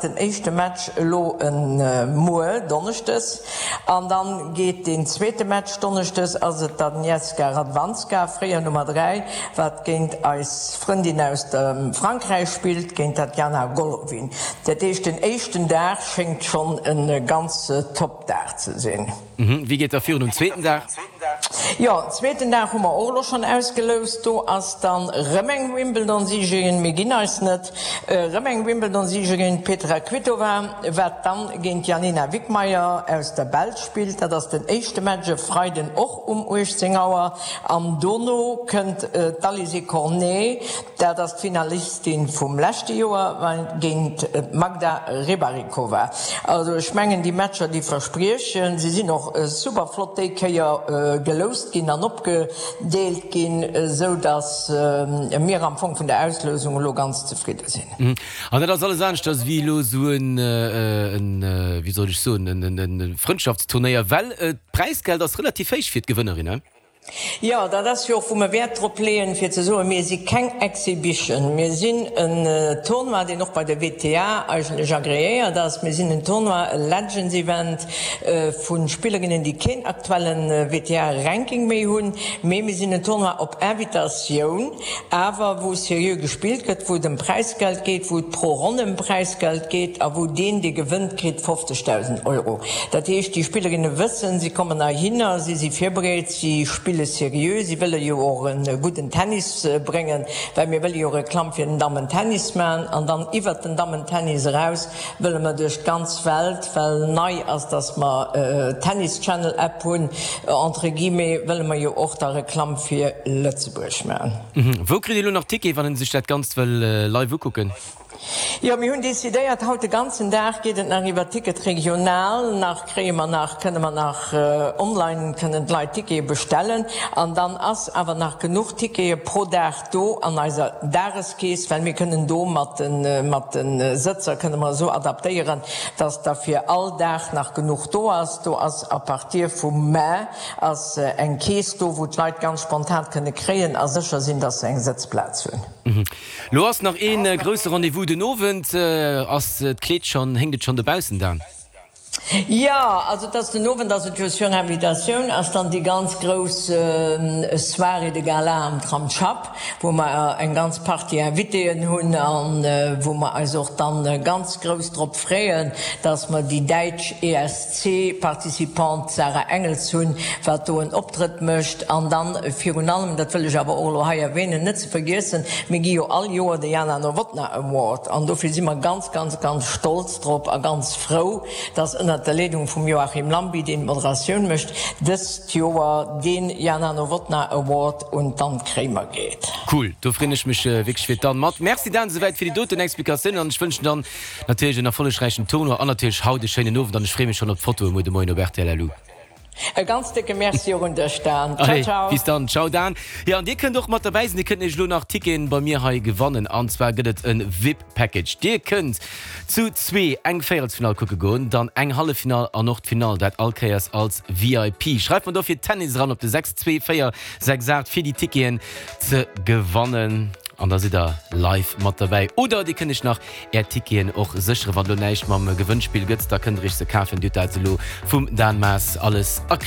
Den éischte Match elo muer Donneschdes an dann geet deen zweete Match Donneschdes ass et d'Agnieszka Radwanska, fréier Nummer 3, wat géint eis Frëndin aus dem Frankräich spillt, géint d'Tatjana Golovin. Dat heescht den éischten Dag schéngt schonn e ganz top Dag ze sinn. Wéi geet da virun um zweeten Dag? Jo, zweeten Dag hu mer och elo schonn ausgeloust. Do ass dann rëm eng Wimbledon-Siegerin, mir ginn eis net, rëm eng Wimbledon-Siegerin, d'Petra Kvitova, wat dann géint d'Yanina Wickmayer aus der Belsch spillt. Dat ass den éischte Match e Freiden och um 18 Auer. An dono kënnt d'Alizé Cornet, Dat ass d'Finalistin vum leschte Joer géint d'Magda Rybarikova. Also ech mengen déi Matcher déi verspriechen. Se sinn och super flott déi Kéier geloust ginn an opgedeelt ginn, esou datt mir am Fong vun der Auslousung elo ganz zefridde sinn. An dat ass alles aneschters wéi elo esou en, wéi soll ech soen, e Frëndschaftsturnéier, well d'Präisgeld ass relativ héich fir d'Gewënnerin, he? Jo, dat ass jo och, wou mer Wäert drop leeën, fir ze soen, mir si keng Exhibition. Mir sinn en Tournoi, deen och bei der WTA eigentlech agreéiert ass. Mir sinn en Tournoi, e Legends Event vu Spillerinnen, déi keen aktuelle WTA-Ranking méi hunn. Mee mir sinn en Tournoi op Invitatioun, awer wou seriö gespillt gëtt, wou et ëm Präisgeld geet, wou et pro Ronn ëm Präisgeld geet a wou deen, dee gewënnt, kritt 50.000 Euro. Dat heescht, déi Spillerinne wëssen, si kommen heihinner, si si virbereet, si spille seriö, si wëlle jo och e gudden Tennis bréngen, well mir wëlle jo Reklamm fir den Dammentennis maachen an dann iwwert den Dammentennis eraus wëlle mer duerch d'ganz Welt, well nei ass, dass mer d'Tennis Channel App hunn, entre guillemets, wëlle mer jo och da Reklamm fir Lëtzebuerg maachen. Wou kritt ee lo nach Tickete wann en sech dat Ganzt wëll live ukucken? Jo, mir hunn decidéiert, haut de ganzen Dag geet et nach iwwer Ticket Regional. Nach kréie mer nach, kënne mer nach online kënnen d'Leit Tickete bestellen. An dann ass awer nach genuch Tickete pro Dag do an eiser Dageskeess, well mir kënnen do mat de mat de Sëtzer kënne mer esou adaptéieren, dass da fir all Dag nach genuch do ass. Do ass à partir vum Mä ass eng Keess do, wou d'Leit ganz spontan kënne kréien a sécher sinn, dass se eng Sëtzplaz hunn. Lo ass nach een grousse Rendez-vous den Owend. Ass d'Kleed schonn, héngt et schonn dobaussen, Dan? Jo, also et ass den Owend ass et jo sur invitatioun, ass dann déi ganz grouss Soirée de Gala am Tram Schapp, wou mer eng ganz Partie Invitéen hunn an wou mer eis och dann ganz grouss drop freeën, dass mer déi däitsch ESC-Participante Sarah Engels hunn, wat do en Optrëtt mécht. An dann virun allem, dat wëll ech awer och elo hei erwähnen, net ze vergiessen, mir gi jo all Joer de Jana Novotná Award an dofir si mer ganz, ganz, ganz stolz drop a ganz frou, dass ënnert der Leedung vum Joachim Lamby, deen d'Moderatioun mécht, dëst Joer dee Jana Novotná Award un d'Anne Kremer geet. Cool, do freen ech mech wierklech fir d'Anne mat. Merci Dan esouwäit fir déi doten Explikatiounen an ech wënschen dann natierlech en erfollegräichen Tournoi an natierlech haut e schéinen Owend an ech free mech schonn op d'Fotoe muer de Moien op rtl LU. E ganz décke Merci och un dech Dan. Ciao Allez, ciao. bis dann. Ciao Dan. Jo, an dir kënnt och mat derbäi sinn. Dir kënnt nämlech elo nach Ticketen bei mir hei gewannen. An zwar gëtt et e VIP Package. Dir kënnt zu zwee eng Véierelsfinall kucke goen, dann eng Halleffinall an och d'Finall, dat all Kéiers als VIP. Schreift mer dofir Tennis eran op de 62468 fir déi Ticketen ze gewannen. An da sidd der live mat derbäi. Oder dir kënnt iech nach Är Ticketen och sécheren. Wann elo näischt mam Gewënnspill gëtt, da kënnt der iech se kafen. Dir hutt dat elo vum Dan Maas alles erkläert.